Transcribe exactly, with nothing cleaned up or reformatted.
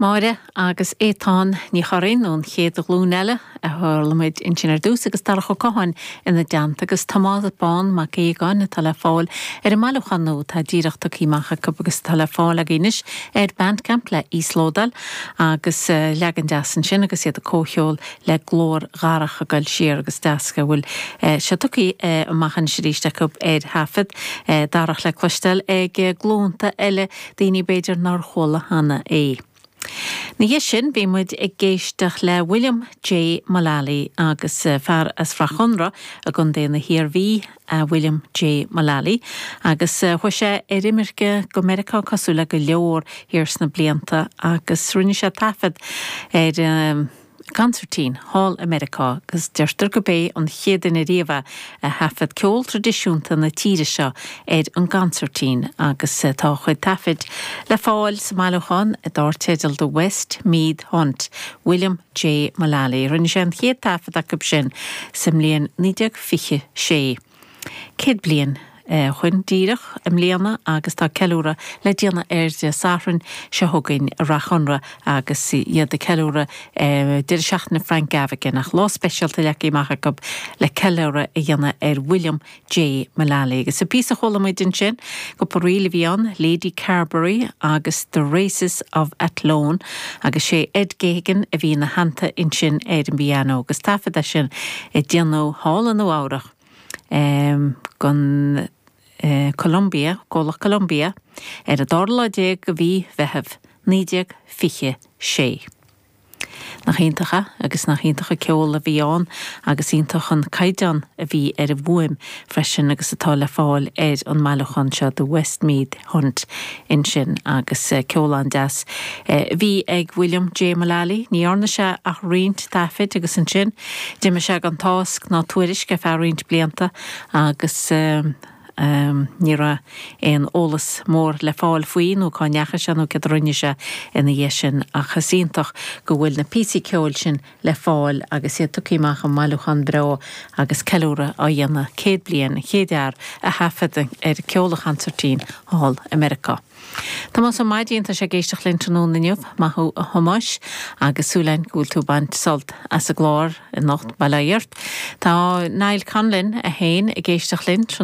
Máire agus Étáin Ní Churraoin ón chéad ghlúin eile a chuala muid ansin ar dtús agus Darach Ó Catháin ina dteannta agus Tomás Bán Mac Aogáin atá le fáil ar an mbailiúchán nua atá díreach tugtha amach acu agus atá le fáil againn anois ar Bandcamp le íoslódáil agus eh, leagan deas ansin agus iad ag comhcheol le glór Dharach ag goil siar agus deas go bhfuil eh, sé tugtha eh, amach anois arís acu ar thaifead Darach le cloisteáil ag glúnta eile daoine b'fhéidir nár chuala cheana é. Ina dhiaidh sin bhí muid ag éisteacht le William J. Mullally agus eh, fear as Rath Chonra i gContae na hIarmhí a William J. Mullally agus eh, chuaigh sé ar imirce go Meiriceá cosúil le go leor thiar sna blianta agus rinne sé taifead ar um, consairtín thall i Meiriceá agus deirtear gurb é an chéad duine riamh a thaifead ceol traidisiúnta na tíre seo ar an gconsairtín agus eh, tá chuid taifid le fáil sa mbailiúchán dar teideal The West Meath Hunt, William J. Mullally. Rinne sé an chéad taifead acu sin sa mbliain naoi déag fiche sé. Céad bliain ó shin díreach i mbliana agus tá ceiliúradh le déanamh ar Dé Sathairn seo chugainn i Rath Chonra agus iad ag ceiliúradh deireadh seachtaine Frank Gaffigan ach lá speisialta leagtha amach acu le ceiliúradh a dhéanamh ar William J. Mullally. Agus sa píosa a chuala muid ansin cúpla ríl a bhí ann Lady Carberry agus The Races of Athlone agus sé Ed Geoghegan a bhí ina theannta ansin ar an bpianó agus taifead é sin a déanadh thall i Nua Eabhrac. Um, gon uh, Columbia, Comhlacht Columbia, ar an dara lá déag de mhí Mheithimh, naoi déag fiche sé. Nach iontach é agus nach iontach an ceol a bhí ann agus iontach an caighdeán a bhí ar an bhfuaim freisin agus atá le fáil ar an mbailiúchán seo The Westmeath Hunt ansin agus eh, ceol an-deas. Eh, bhí ag William J. Mullally, ní dhearna sé ach roinnt taifid agus ansin, d'imigh sé gan tásc ná tuairisc ar feadh roinnt blianta agus uh, Um, ní raibh aon eolas mór le fáil faoi nó cá ndeachaigh sé nó cad a rinne sé ina dhiaidh sin ach is iontach go bhfuil na píosaí ceoil sin le fáil agus iad tugtha amach i mbailiúchán breá agus ceiliúradh á dhéanamh céad bliain chéad fhear a thaifead ar ceol an chonsairtín thall i Meiriceá. Tomás Ó Maidín tá sé ag éisteacht linn tráthnóna inniu maith thú a Thomáis agus súil againn go bhfuil tú ag baint sult as an gclár anocht bail ó Dhia ort. Tá Niall Conlin a haon ag éisteacht linn